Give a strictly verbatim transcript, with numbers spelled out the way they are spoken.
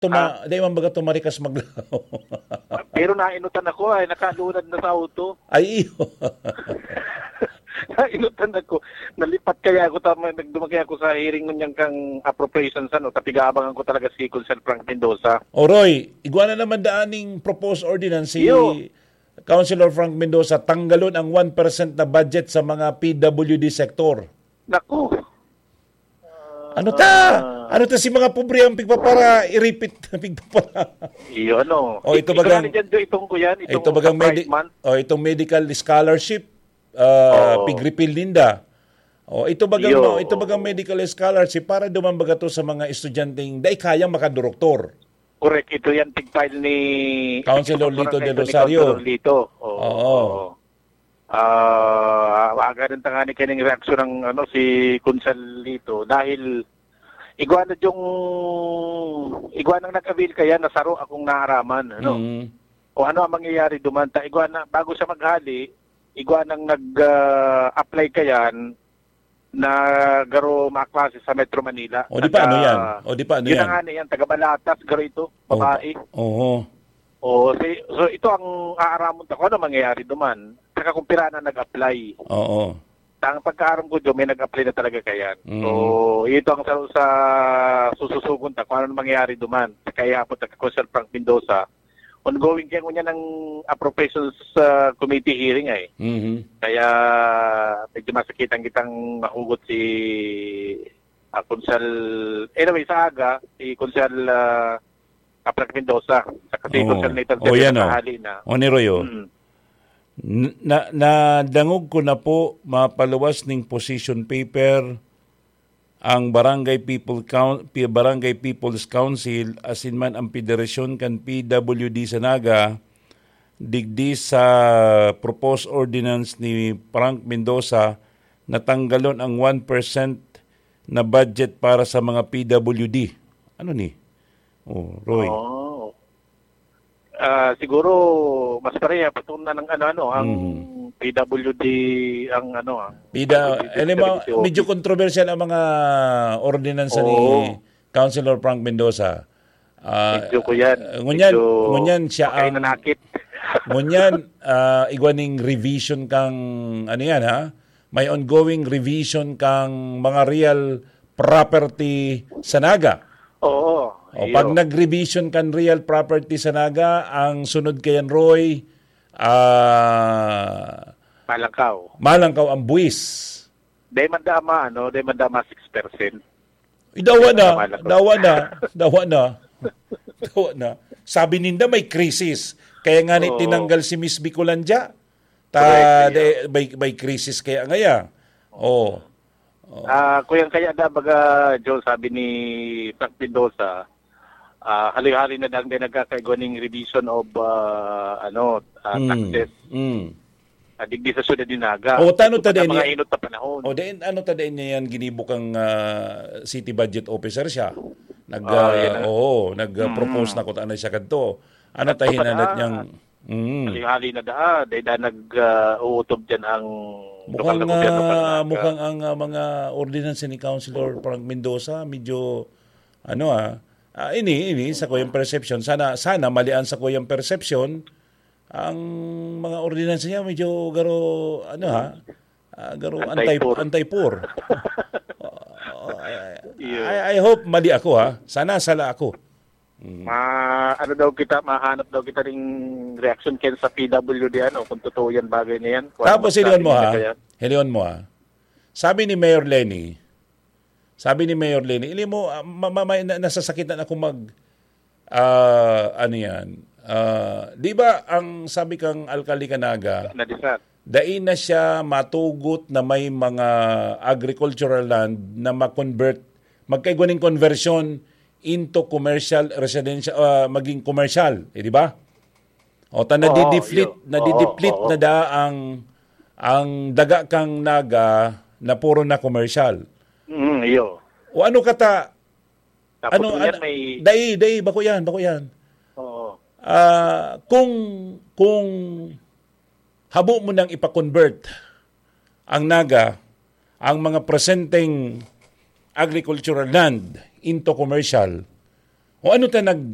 Tuma, di man baga tumarikas maglaho. Pero nainutan ako, ay, nakalunad na sa auto. Ay, iyo. Nainutan ako. Nalipat kaya ako, tama, nagdumagay ako sa hearing ngunyan kang appropriations, ano, tapig-aabangan ko talaga si Consul Frank Mendoza. O, Roy, igwa na naman daan ning proposed ordinance si Iyo. Councilor Frank Mendoza, tanggalon ang one percent na budget sa mga P W D sector. Naku. Ano ta? Ah. Ano ta si mga pobre ang pigpapara, iripit na pigpapara? Iyo, ano? O, ito Ikaw bagang, na dyan, Joy, itong ko yan, itong ito bagang sa medi-, Pride Month. O, itong medical scholarship, ah, Oo. pig-repeal ninda. O, ito bagang, Iyo, no, ito oo. bagang medical scholarship para duman baga to sa mga estudyanteng dai kayang makadoroktor. Correct, ito yan, pig-file ni Councilor Lito Barangay Del ni Rosario. Councilor Lito. Oo, Oo. oo. Ah, aga rin tangani kaning reaksyon ng, ano, si Consul Lito dahil igwa na yung, igwa nang nag-avail kaya na saro akong naaraman, ano? Mm. O ano ang mangyayari duman? Ta, igwa na, bago siya maghali, igwa nang nag, ah, apply kayan na garo maklase sa Metro Manila. O, di pa, ano Taga, yan? O, di pa, ano yun yan? na nga na yan, taga Balatas, garo ito, O, babae. oo. Oo, si, so ito ang aaramon ta kung ano mangyayari duman. Saka kung pira na nag-apply. Oo. Ang pagkaaram ko, Joe, may nag-apply na talaga kayan. Mm. So, ito ang sa, sa sususugon ta kung ano mangyayari duman. Kaya po, taga Consul Frank Mendoza, ongoing kaya ngunyan ang appropriations, ah, committee hearing ay. Mhm. Kaya medyo masakitan kitang mahugot si, ah, Consul, anyway, sa aga, si Consul, ah, Frank Mendoza, saka si Oo. Consul Nathan Oh, Terry yan, oh. nakahali na. O, ni Roy, oh. Mm. N-, na, nadangog ko na po, mapaluwas ning position paper ang Barangay People Coun-, Pi-, Barangay People's Council, asin man ang Federasyon kan P W D sa Naga, digdi sa proposed ordinance ni Frank Mendoza na tanggalon ang one percent na budget para sa mga P W D. Ano ni? Oh, Roy. Oh. Ah, siguro, mas pareha, patungkol na ng ano, ano, ang Mhm. P W D, ang ano, ang Pida, P W D alam mo, Service medyo Office. kontrobersyal ang mga ordinansa ni Oo. Councilor Frank Mendoza. Ah, Medyo ko yan. ngunyan, Medyo ngunyan siya ang, makainanakit. ngunyan, ah, igwa ning revision kang, ano yan, ha? May ongoing revision kang mga real property sa Naga. Oo, O, iyo. pag nag-revision kan real property sa Naga, ang sunod kayan, Roy, ah, Malangkaw. malangkaw ang buwis. Dahil man dama, ano, dahil man dama six percent. Idawa na, Malangkaw. dawa na, dawa na, dawa na. Sabi ninda may krisis. Kaya nga ni Oo. tinanggal si Miss Bicolandia. Ta, Correct, de, iyo. may, may krisis kaya ngaya. Oo. Oo. Ah, kuyang kaya da, baga, Joel, sabi ni Frank Mendoza, ah, hali-hali na dang din nagkakaigwa ning revision of, ah, ano, ah, Mm. taxes. Mm. Ah, digdi sa syudad ni Naga. O, tano Ito ta pa din mga niya? inot na panahon. O, din, ano ta din niya yan, ginibo kang, ah, city budget officer siya. Nag, Ah, ah, yan na. oo, nag, ah, propose Mm. na kung ano siya kadto. Ano At ta hinalat kapag, niyang, ah, mm. Hali-hali na daa, dahil da nag, ah, uutob dyan ang lokal Mukhang, na gobyerno ah, kan Naga. mukhang ang, ah, mga ordinansa ni Councilor Frank Mendoza, medyo, ano, ah, ah, ini, ini, sa kuyang perception. Sana, sana mali ang sa kuyang perception, ang mga ordinansa niya medyo garo, ano, ha? Ah, garo anti, Anti-poor. anti-poor. Oh, I, Iyo. I, I hope mali ako, ha? Sana sala ako. Mm. Ma-, ano daw kita, mahanap daw kita ring reaction ken sa P W D, ano, kung totoo yan, bagay na yan. Kung Tapos, ano, hilingon mo, sabi ha? nila kaya. Hilingon mo, ha? Sabi ni Mayor Lenny, sabi ni Mayor Lenny, ili mo, ah, ma-, ma-, ma-, na-, nasasakitan ako mag, ah, ano yan? Ah, di ba, ang sabi kang alkalde ka Naga, Nadisat. dai na siya matugot na may mga agricultural land na ma-convert, magkaigwa ning conversion into commercial, residential, ah, maging commercial, eh, di ba? O, ta Oo, nadideplete, iyo. nadideplete Oo, oo. na da ang, ang daga kang Naga na puro na commercial. Mm, iyo. O ano kata, Tapos ano, yan ano, may dai, dai, bako yan, bako yan. Oo. Ah, kung, kung habo mo nang ipa-convert ang Naga, ang mga presenteng agricultural land into commercial, o ano ta nag-,